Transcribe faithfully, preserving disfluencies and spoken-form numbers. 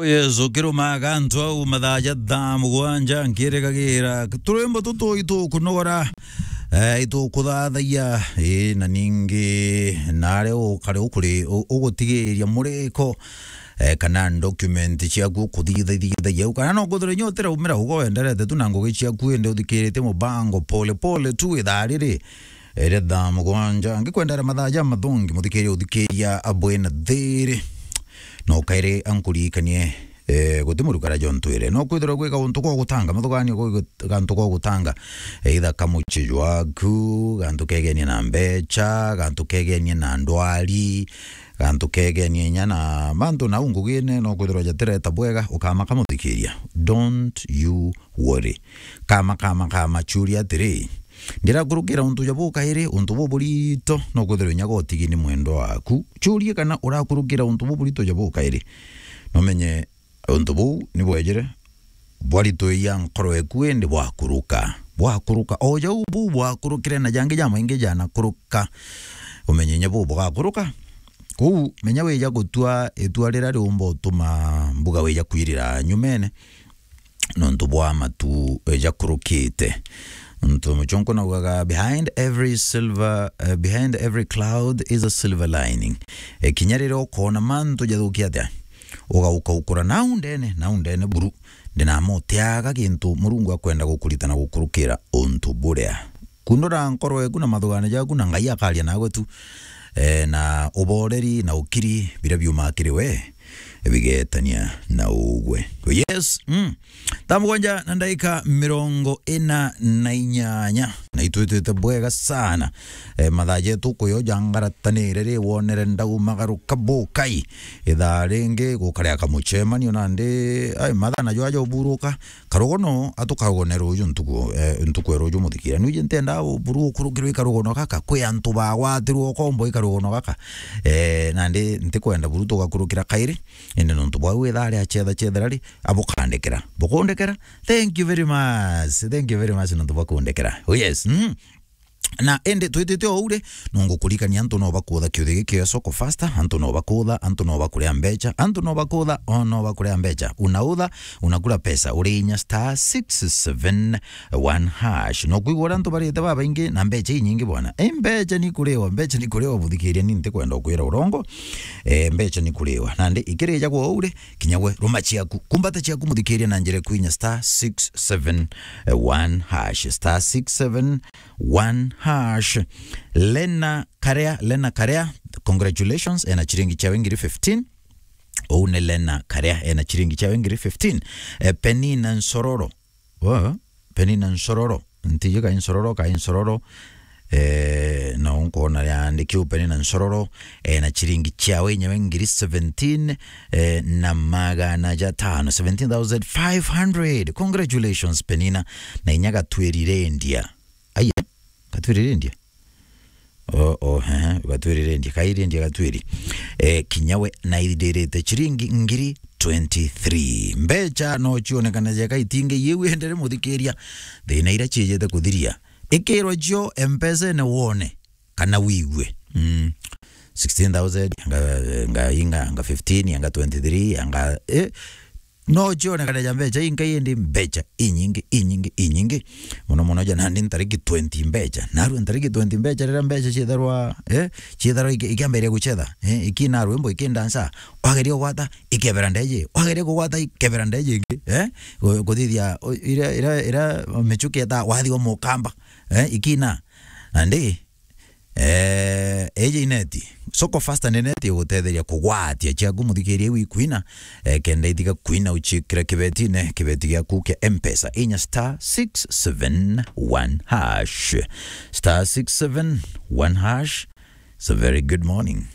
Yesu, kirumaga antu au mathaa ja thaa mugwanja, nkirikagira turwimbo tutu itukunogora, eh, itukuthathagia, eh, na ningi nare ukari ukuri-, u-, ugutigiria muriko, eh, kana document ciaku ukuthithagia au, kana no kwithirwa inya utiraumira ugo wenderete tu na ngugi ciaku, indi uthikiritie mubango pole pole tu ithaa riri, iri thaa mugwanja. Ngikwendera mathaa ja mathongi, muthikiria uthikiria abwina thiri. No kairi ankuririkanie, eh, guti murukara jontwire. No kwithirwa gwi gauntu gwa gutanga, mathuganio gwi gantu gwa gutanga. Either ka mucii jwaku, gantu kegenie na mbecha, gantu kegenie na ndwari, gantu kegenie inya na mantu nau ngugine, no kwithirwa jatireta bwega, ukamaka muthikiria. Don't you worry. Kama, kama, kama, churia atiri, ndirakurukira untu ja bukairi, untu buburito, no kwithirwa inya gotigi ni mwendwa waku. Churie kana urakurukira untu buburito ja bukairi. Nomenye untu buu ni bwejire, bwaritwia nkoro eku, indi bwakuruka. Bwakuruka. O jau buu bwakurukire na jangi jamaingi janakuruka. Umenye inya buu bugakuruka. Kuu, menya wija gutua itua rira riumba utuma mbuga wija kwirira nyumene. Nontu bwa matu, eh, jakurukite. Nontu muchonko naugaga, "Behind every silver, eh, behind every cloud is a silver lining." Eh, kinya riria ukoona mantu jathukia atia, ugauka ukura nau ndene, nau ndene buru. Ndinamutiaga gintu Murungu akwenda gukurita na gukurukira untu buria. Kundura nkoro eku na mathugano jaku, na Ngai akaria nawe tu. Eh, na uboreri na ukiri biria biumaa kiri we, bigetania na ugwe. Yes, mm. Thaa mugwanja na ndaika mirongo ina na inyanya. Na itwitite bwega sana. Eh, mathaa jetu kuyo jangaratanire ri, wonere ndaumagaruka bukai. Ithaa ringi gukaria kamuchemanio nandi, ai, mathaa najo aja uburuka. Karugono, atukarugone ruju ntuku, eh, ntuku ya ruju muthikira. Nuje ntenda buru ukurukirwe ikarugono gaka, kwi antu bagwatirwe ukombo ikarugono gaka. Eh, nandi ntikwenda buru tugakurukira kairi, indi nontu bwau ithaa ria chetha chethera ri, abukandikira. Bukundikira? Thank you very much. Thank you very much nontu bwa kundikira. Oh yes. Mm. Na indi twitite o uu ri, no ngukurikania antu no bakutha kiuthi giki kia Soko Fasta, antu no bakutha, antu no bakuria mbecha, antu no bakutha, o no bakuria mbecha. Unautha, unakula pesa, uri inya star six seven one hash. No kwigua uria antu barite babaingi na mbecha inyingi bwana. E, mbecha ni kuriwa, mbecha ni kuriwa, muthikiria, ni ntikwenda ukwira urongo. E, mbecha ni kuriwa. Nandi ikirija kwa uu ri, kinya gwe ruma ciaku, kumbata ciaku muthikiria na njira kwinya star six seven one hash, star six seven one hash. Lena Karea, Lena Karea, congratulations, ena chiringi chiawe ngiri fifteen. Ou ni Lena Karea, ena chiringi chiawe ngiri fifteen. Eh, Penina Nsororo. Wo, Penina Nsororo. Ntiji kai Nsororo, kai Nsororo. Eh, no nkwona yandiki u Penina Nsororo, eh, na chiringi chiawe inyawe ngiri seventeen, eh, na magana jatano, seventeen thousand five hundred. Congratulations, Penina. Na inya gatwiri rendia. Aya, gatwiri rendia? Oh, oh, ehe, gatwiri rendia, kai rendia gatwiri. Eh, kinya we na ithindirite chiringi ngiri twenty-three. Mbecha no chionekana jeka itingi iu endere muthikiria. Thina ira chiejete kuthiria. Ikirwa cio M-Pesa-ine wone kana wigue. Mm. Sixteen thousand, anga, anga, inga, anga fifteen, anga twenty-three, anga, eh, no chionekana ja mbecha inga indi mbecha inyingi, inyingi, inyingi. Muno muno ja nandi ntariki twenty mbecha. Narua ntariki twenty mbecha, rira mbecha chietharwa, eh, chietharwa iki-, ikiambiria guchetha, eh, ikina rwimbo, ikindansa, wageria kugwata, ikebera ndeje, wageria kugwata, ikebera ndeje ingi, eh, gu-, guthithia, o, ira, ira, ira michuki eta wathi wa mukamba, eh, ikina. Nandi, eh, eje ineti. Soko Fasta ni neti igutetheria kugwatia chiaku muthikiria iu ikwina, eh, kenda itiga kwina uchikira kibetine, kibeti giaku kia M-Pesa. Inya star six seven one hash. Star six seven one hash. It's a very good morning.